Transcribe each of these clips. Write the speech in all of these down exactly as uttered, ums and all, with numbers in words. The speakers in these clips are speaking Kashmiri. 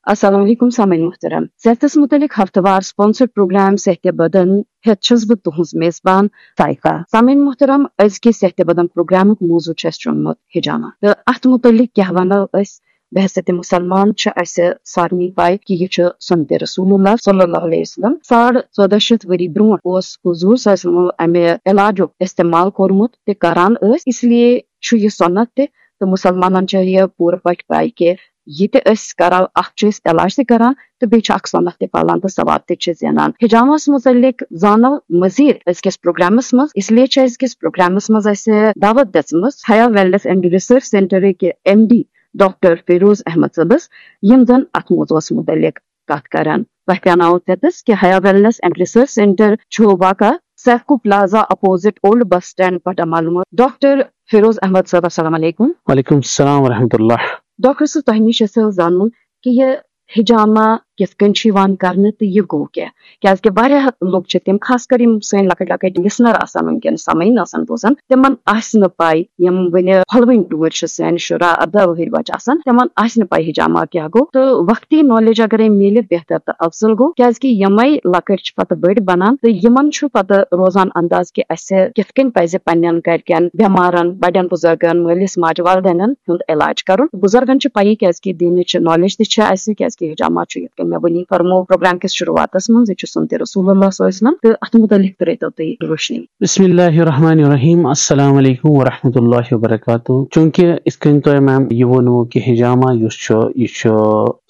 السلام علیکم سامعین محترم، صحتس متعلق ہفتہٕ وار سپانسر پروگرام صحت بدن ہیتھ چھس بہٕ تُہنٛز میزبان سائقہ۔ سامعین محترم، أزکہِ صحت بدن پروگرامُک موضوع چھُ اَسہِ چُنمُت حجامہ، تہٕ اتھ متعلق کیاہ ونو أسۍ؟ بحیثیت مسلمان چھِ اَسہِ سارنٕے پاے کہِ یہِ چھُ سنت رسول اللہ صلی اللہ علیہ وسلم۔ ساڑ ژۄدہ شیٚتھ ؤری برونٛٹھ اوس حضور صلی اللہ علیہ وسلم امہِ علاجُک استعمال کوٚرمُت تہٕ کران ٲسۍ، اس لیے چھُ یہِ سنت تہِ، تہٕ مسلمانن چھےٚ یہِ پوٗرٕ پٲٹھۍ پاے کہِ یہِ تہِ أسۍ کرو، اکھ چھِ أسۍ علاج تہِ کران تہٕ بیٚیہِ چھِ اکھ سنت تہِ پالان تہٕ ثواب تہِ چھِ زینان۔ حجامس متعلق زانو مزید أزکِس پروگرامس منٛز، اس لیے چھِ أزکِس پروگرامس منٛز اَسہِ دعوت دِژمٕژ حیا ویلنس اینڈ ریسرچ سینٹرٕکۍ M D doctor Feroz Ahmad صٲبس، یِم زن اتھ موضوعس متعلق کتھ کرن۔ تۄہہِ پیاناوو ژیتس کہِ حیا ویلنس اینڈ ریسرچ سینٹر چھُ واقع SIFCO plaza opposite old bus stand پٹامالمور۔ ڈاکٹر فیروز احمد صٲب، السلام علیکم۔ وعلیکم السلام ورحمۃ اللہ۔ ڈاکٹر صٲب، تۄہہِ نِش چھِ اَسہِ زانُن کہِ یہِ حجامہ کِتھ کٔنۍ چھُ یِوان کرنہٕ تہٕ یہِ گوٚو کیٛاہ؟ کیازِ کہِ واریاہ لُکھ چھِ تِم، خاص کر یِم سٲنۍ لۄکٕٹۍ لۄکٕٹۍ لسنر آسن وٕنکیٚن، سامعین آسن بوزان، تِمن آسہِ نہٕ پاے، یِم وٕنہِ پھۄلوٕنۍ ٹوٗرۍ چھِ، سٲنۍ شُرا ارداہ وُہٕرۍ بچہِ آسن، تِمن آسہِ نہٕ پاے حجامہ کیٛاہ گوٚو۔ تہٕ وقتی نالیج اگرے میلہِ، بہتر تہٕ افضل گوٚو، کیازِ کہِ یِمے لۄکٕٹۍ چھِ پتہٕ بٔڑۍ بنان تہٕ یِمن چھُ پتہٕ روزان انداز کہِ اسہِ کِتھ کٔنۍ پزِ پننٮ۪ن گرِکٮ۪ن، بٮ۪مارن، بڑٮ۪ن بزرگن، مٲلِس ماجہِ، والدینن ہُنٛد علاج کرُن۔ بزرگن چھِ پَیی، کیازِ کہِ دینٕچ نالیج تہِ چھِ اَسہِ، کیازِ کہِ حجامہ چھُ، یِتھ کٔنۍ مےٚ وٕنی فرمو پروگرام کِس شروعاتس منٛز، یہِ چھُ سنت رسول اللہ صلی اللہ علیہ وسلم، تہٕ اَتھ مُتعلِق ترٲیتو تُہۍ روشنی۔ بسم اللہ الرحمن الرحیم۔ السلام علیکم ورحمۃ اللہ وبرکاتہ۔ چونکہ یِتھ کٔنۍ تۄہہِ میم یہِ ووٚنوُ کہِ حجامہ یُس چھُ، یہِ چھُ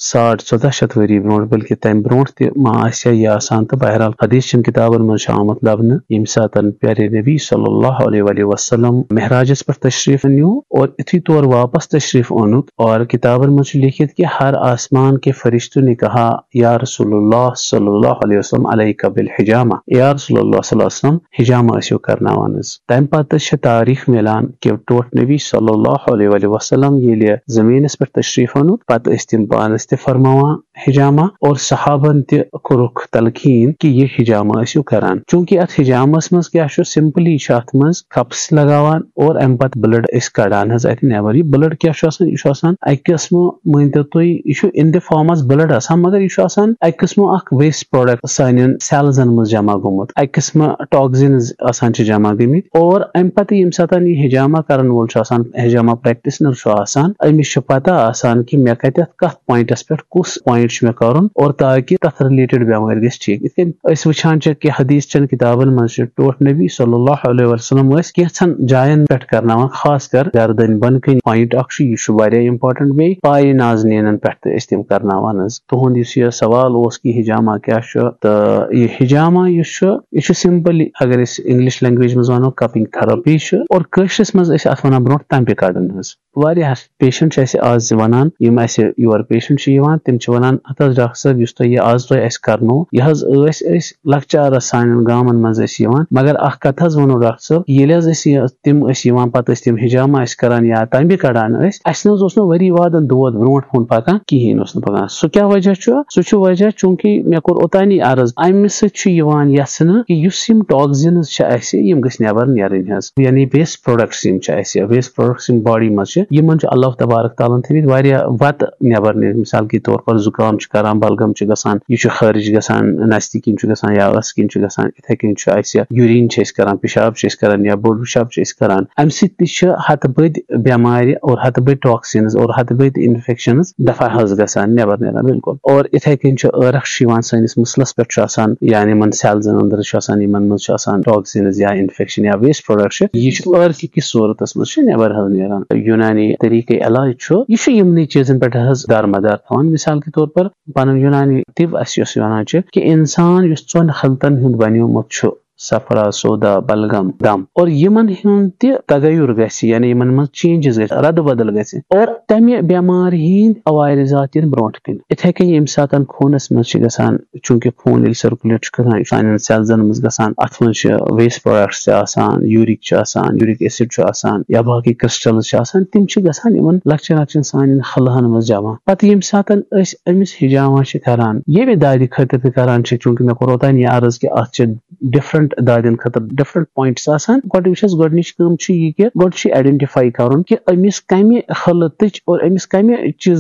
ساڑ ژۄدہ شیٚتھ ؤری برونٛٹھ، بلکہِ تَمہِ برونٛٹھ تہِ ما آسہِ ہا یہِ آسان، تہٕ بہرحال حدیث چٮ۪ن کِتابن منٛز چھُ آمُت لبنہٕ، ییٚمہِ ساتن پیارے نبی صلی اللہ علیہ وآلہ وسلم معراجس پٮ۪ٹھ تشریف نیوٗ اور یُتھُے تور واپس تشریف اوٚنُکھ، اور کِتابن منٛز چھُ لیکھِتھ کہِ ہر آسمان کے فرشتوں نے کہا، یا رسول اللہ صلی اللہ علیہ وسلم، علیک بالحجامہ، یا رسول اللہ صلی اللہ علیہ وسلم، حجامہ ٲسِو کرناوان حظ۔ تَمہِ پتہٕ چھِ تاریخ میلان کہِ ٹوٹھ نبی صلی اللہ علیہ وآلہ وسلم ییٚلہِ زٔمیٖنس پٮ۪ٹھ تشریف اوٚنُکھ، پتہٕ ٲسۍ تِم پانس تہِ فرماوان حجامہ، اور صحابن تہِ کوٚرُکھ تلقین کہِ یہِ حجامہ ٲسِو کران۔ چونکہ اتھ حجامس منٛز کیٛاہ چھُ، سمپلی چھِ اتھ منٛز کپس لگاوان اور امہِ پتہٕ بلڈ أسۍ کڑان حظ اتہِ نٮ۪بر۔ یہِ بلڈ کیٛاہ چھُ آسان؟ یہِ چھُ آسان اکہِ قٕسمہٕ، مٲنۍ تو تُہۍ، یہِ چھُ in the form as blood آسان، مگر یہِ چھُ آسان اکہِ قٕسمہٕ اکھ ویسٹ پروڈکٹ سانٮ۪ن سیلزن منٛز جمع گوٚمُت، اکہِ قٕسمہٕ ٹاکزنز آسان چھِ جمع گٔمٕتۍ۔ اور امہِ پتہٕ ییٚمہِ ساتہٕ یہِ حجامہ کرن وول چھُ آسان، حجامہ پریکٹسنر چھُ آسان، أمِس چھِ پتہ آسان کہِ مےٚ کتٮ۪تھ کتھ پوینٹس پٮ۪ٹھ کُس پوینٹ چھُ مےٚ کرُن، اور تاکہِ تتھ رِلیٹڈ بٮ۪مٲرۍ گژھِ ٹھیک۔ یِتھ کٔنۍ أسۍ وٕچھان چھِ کہِ حدیث چٮ۪ن کِتابن منٛز چھِ ٹوٹھ نبی صلی اللہ علیہ وسلم ٲسۍ کینٛژھن جاین پٮ۪ٹھ کرناوان، خاص کر گردن بۄنہٕ کنہِ پوینٹ اکھ چھُ، یہِ چھُ واریاہ امپورٹنٹ، بیٚیہِ پایہِ نازنینن پٮ۪ٹھ تہِ ٲسۍ تِم کرناوان حظ۔ تُہُنٛد یُس یہِ سوال اوس کہِ حجامہ کیٛاہ چھُ، تہٕ یہِ حجامہ یُس چھُ، یہِ چھُ سمپلی، اگر أسۍ انگلش لینگویج منٛز ونو، کپنگ تھراپی چھُ، اور کٲشرِس منٛز ٲسۍ اتھ ونان برونٛٹھ تمبہِ کڑُن حظ۔ واریاہ پیشنٹ چھِ اَسہِ آز ونان، یِم اَسہِ یور پیشنٹ چھِ یِوان، تِم چھِ ونان، ہتہٕ حظ ڈاکٹر صٲب، یُس تۄہہِ یہِ آز تۄہہِ اَسہِ کرنو، یہِ حظ ٲسۍ أسۍ لۄکچارس سانٮ۪ن گامن منٛز ٲسۍ یِوان، مگر اکھ کتھ حظ ونو ڈاکٹر صٲب، ییٚلہِ حظ أسۍ یہِ، تِم ٲسۍ یِوان، پتہٕ ٲسۍ تِم حجامہ ٲسۍ کران یا تمبہِ کڑان ٲسۍ، اَسہِ نہ حظ اوس نہٕ ؤری وادن دود برونٛٹھ کُن پکان، کِہیٖنۍ اوس نہٕ پکان۔ سُہ کیٛاہ وجہ چھُ؟ سُہ چھُ وجہ چونکہ مےٚ کوٚر اوٚتانی عرض، امہِ سۭتۍ چھُ یِوان یژھنہٕ کہِ یُس یِم ٹاکزنز چھِ اَسہِ، یِم گٔژھۍ نٮ۪بر نیرٕنۍ حظ، یعنی ویسٹ پروڈکٹس یِم چھِ اَسہِ، ویسٹ پروڈکٹس یِم باڈی منٛز چھِ، یِمن چھُ اللہ تبارک تعالیٰ ہن تھٲومٕتۍ واریاہ وتہٕ نٮ۪بر نیرِتھ۔ مثال کے طور پر زُکام چھُ کران، بلغم چھُ گژھان، یہِ چھُ خٲرج گژھان، نستہِ کِنۍ چھُ گژھان یا ٲسہٕ کِنۍ چھُ گژھان، یِتھے کٔنۍ چھُ اَسہِ یوٗریٖن چھِ أسۍ کران، پِشاب چھِ أسۍ کران یا بوٚڑ پِشاب چھِ أسۍ کران، اَمہِ سۭتۍ تہِ چھِ ہتہٕ بٔدۍ بٮ۪مارِ اور ہتہٕ بٔدۍ ٹاکسینز اور ہتہٕ بٔدۍ انفیکشنز دفع حظ گژھان، نٮ۪بر نیران بالکل۔ اور یِتھے کٔنۍ چھُ ٲرکھ چھُ یِوان سٲنِس مٕسلس پٮ۪ٹھ چھُ آسان، یعنی یِمن سیلزن أنٛدرٕ چھُ آسان، یِمن منٛز چھُ آسان ٹاکسینز یا انفیکشن یا ویسٹ پروڈکٹ چھِ، یہِ چھُ ٲرکہِ کِس صورتس منٛز چھُ نٮ۪بر حظ نیران۔ یوٗنانی طریٖقے علاج چھُ، یہِ چھُ یِمنٕے چیٖزن پٮ۪ٹھ حظ دارمدار تھاوان۔ مثال کے طور پر پنُن یوٗنانی طب اَسہِ یُس وَنان چھِ کہِ اِنسان یُس ژۄن خلطن ہُنٛد بنیومُت چھُ، صفرا، سودا، بلغم، دم، اور یِمن ہُنٛد تہِ تغیر گژھِ، یعنی یِمن منٛز چینجز گژھِ، رد بدل گژھِ، اور تمہِ بٮ۪مارِ ہٕنٛدۍ عوارضات یِن برونٛٹھ کُن۔ اِتھے کٔنۍ ییٚمہِ ساتن خوٗنس منٛز چھِ گژھان، چونکہ خوٗن ییٚلہِ سرکولیٹ چھُ گژھان، یہِ چھُ سانٮ۪ن سیلزن منٛز گژھان، اتھ منٛز چھِ ویسٹ پروڈکٹس تہِ آسان، یوٗرِک چھُ آسان، یوٗرِک ایسڈ چھُ آسان، یا باقٕے کرسٹلز چھِ آسان، تِم چھِ گژھان یِمن لۄکچن لۄکچن سانٮ۪ن خلہن منٛز جمع۔ پتہٕ ییٚمہِ ساتن أسۍ أمِس حجامہ چھِ کران، ییٚمہِ دادِ خٲطرٕ تہِ کران چھِ، چونکہ مےٚ کوٚر اوتانی عرض کہِ اتھ چھِ ڈفرنٹ دادٮ۪ن خٲطرٕ ڈفرنٹ پوینٹس آسان۔ گۄڈٕ وٕچھ اَسہِ، گۄڈٕنِچ کٲم چھِ یہِ کہِ گۄڈٕ چھُ آیڈنٹیفائی کرُن کہِ أمِس کمہِ خلطٕچ اور أمِس کمہِ چیٖز